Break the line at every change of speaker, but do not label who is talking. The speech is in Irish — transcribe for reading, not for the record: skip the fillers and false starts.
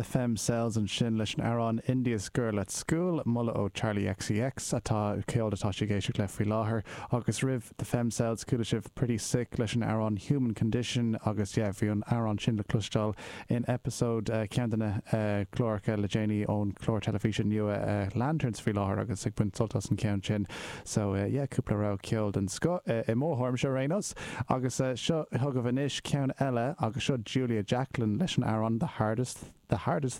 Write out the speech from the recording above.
The Femcels ansin leis an amhrán India's Girl at School, moladh ó Charli XCX, atá ceol atá sí ag éisteacht le faoi láthair. Agus roimh The Femcels, chuala sibh Pretty Sick leis an amhrán Human Condition agus yeah, bhí an amhrán sin le cloisteáil in episode ceann de na cláracha le déanaí ón chlár teilifíse nua Lanterns faoi láthair agus ag baint sult as an cheann sin. So yeah, cúpla rogha ceoil den scoth i mo thuairimse ar aon nós. Agus seo chugaibh anois ceann eile agus seo Julia Jacklin leis an amhrán The Hardest, The Hardest.